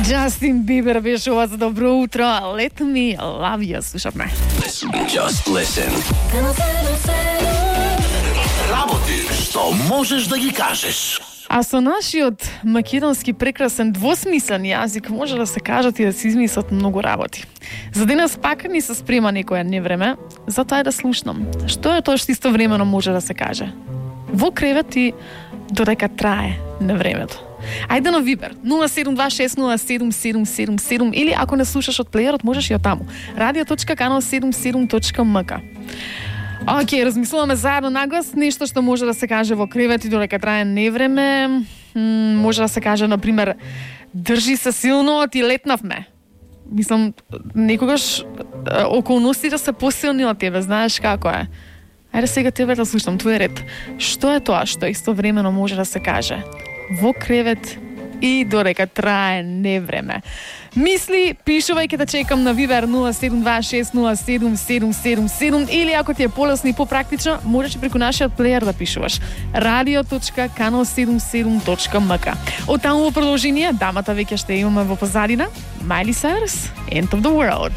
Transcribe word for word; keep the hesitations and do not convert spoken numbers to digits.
Джастин Бибер беше ова за добро утро. Let me love you, слушавме. Just listen. Работи што можеш да ги кажеш. А со нашиот македонски прекрасен двосмислен јазик може да се кажат и да се измислат многу работи. За денес пак ни се спрема некоја невреме, затоа е да слушнам. Што е тоа што истовремено може да се каже? Во кревет и додека трае невремето. Ајде на Вибер нула седум два шест нула седум седум седум седум или ако не слушаш од плеерот можеш и од таму. радио точка канал седумдесет и седум точка ем ка. Океј, размислуваме заедно наглас нешто што може да се каже во кревет и додека трае невреме. М, може да се каже, например, држи се силно, ти летнавме. Мислам, некогаш околностите се посилни од тебе, знаеш како е. Ајде сега тебе да слушам, твој ред. Што е тоа што истовремено може да се каже во кревет и додека трае невреме? Мисли, пишувај, ке да чекам на Вибер нула седум два шест нула седум седум седум седум или ако ти е полесно и попрактично, можеш и преку нашиот плеер да пишуваш. радио точка канал седумдесет и седум точка ем ка. Од таму во продолжение, дамата веќе ще имаме во позадина. Miley Cyrus, End of the World.